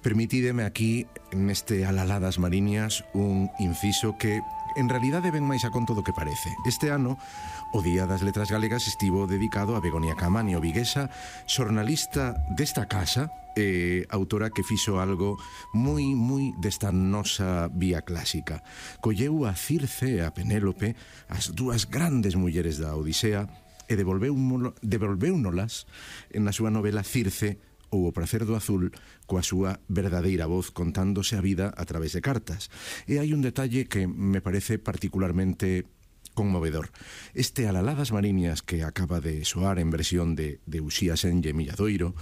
Permitídeme aquí, neste Alaladas Mariñas, un inciso que en realidade ven máis a conto do que parece. Este ano, o Día das Letras Galegas estivo dedicado a Begoña Caamaño, viguesa, xornalista desta casa, autora que fixo algo moi desta nosa vía clásica. Colleu a Circe e a Penélope, as dúas grandes mulleres da Odisea, e devolvéunolas na súa novela Circe ou O pracer do azul, coa súa verdadeira voz contándose a vida a través de cartas. E hai un detalle que me parece particularmente conmovedor. Este Alaladas Mariñas que acaba de soar en versión de Uxía Senlle Milladoiro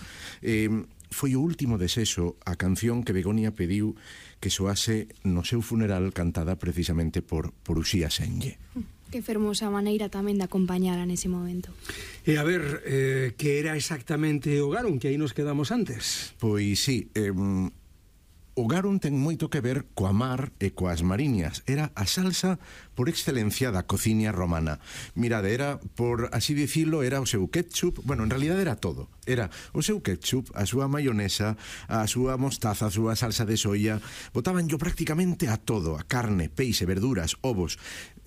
foi o último desexo, a canción que Begoña pediu que soase no seu funeral, cantada precisamente por Uxía Senlle. Que fermosa maneira tamén de acompañala nese momento. E a ver, que era exactamente o garum, que aí nos quedamos antes? Pois sí, o garum ten moito que ver coa mar e coas mariñas. Era a salsa por excelencia da cociña romana. Mirade, era, por así dicilo, era o seu ketchup. Bueno, en realidad era todo. Era o seu ketchup, a súa maionesa, a súa mostaza, a súa salsa de soia. Botabanllo prácticamente a todo, a carne, peixe, verduras, ovos.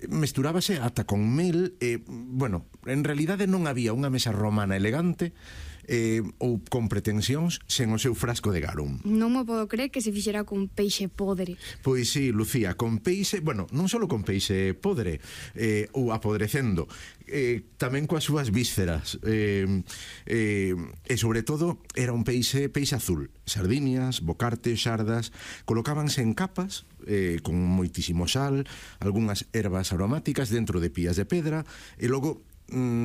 Mesturábase ata con mel e, bueno, en realidade non había unha mesa romana elegante ou con pretensións sen o seu frasco de garum. Non me podo creer que se fixera con peixe podre. Pois sí, Lucía, con peixe, bueno, non só con peixe podre ou apodrecendo, tamén coas súas vísceras, e sobre todo era un peixe azul. Sardiñas, bocartes, xardas, colocábanse en capas con moitísimo sal, algunhas ervas aromáticas dentro de pías de pedra, e logo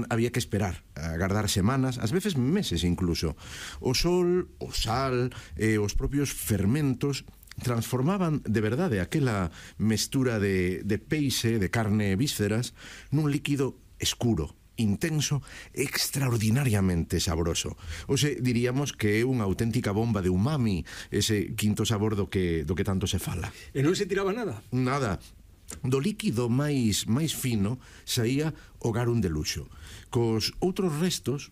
había que esperar, agardar semanas, ás veces meses incluso. O sol, o sal e os propios fermentos transformaban de verdade aquela mestura de peixe, de carne e vísceras nun líquido escuro, intenso, extraordinariamente sabroso. Oxe, diríamos que é unha auténtica bomba de umami, ese quinto sabor do que tanto se fala. E non se tiraba nada? Nada. Do líquido máis fino saía o garum de luxo. Cos outros restos,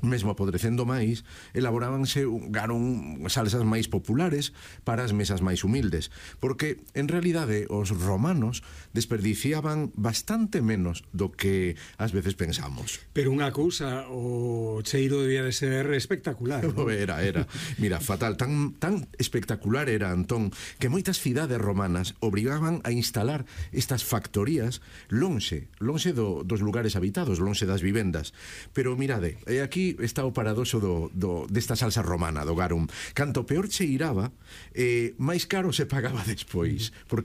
mesmo apodrecendo máis, elaborábanse garum, salsas máis populares para as mesas máis humildes, porque en realidade os romanos desperdiciaban bastante menos do que ás veces pensamos. Pero unha cousa, o cheiro debía de ser espectacular, ¿no? Era. Mira, fatal, tan espectacular era, Antón, que moitas cidades romanas obrigaban a instalar estas factorías lonxe dos lugares habitados, lonxe das vivendas. Pero mirade, aquí está o paradoxo desta salsa romana, do garum. Canto peor cheiraba, máis caro se pagaba despois, porque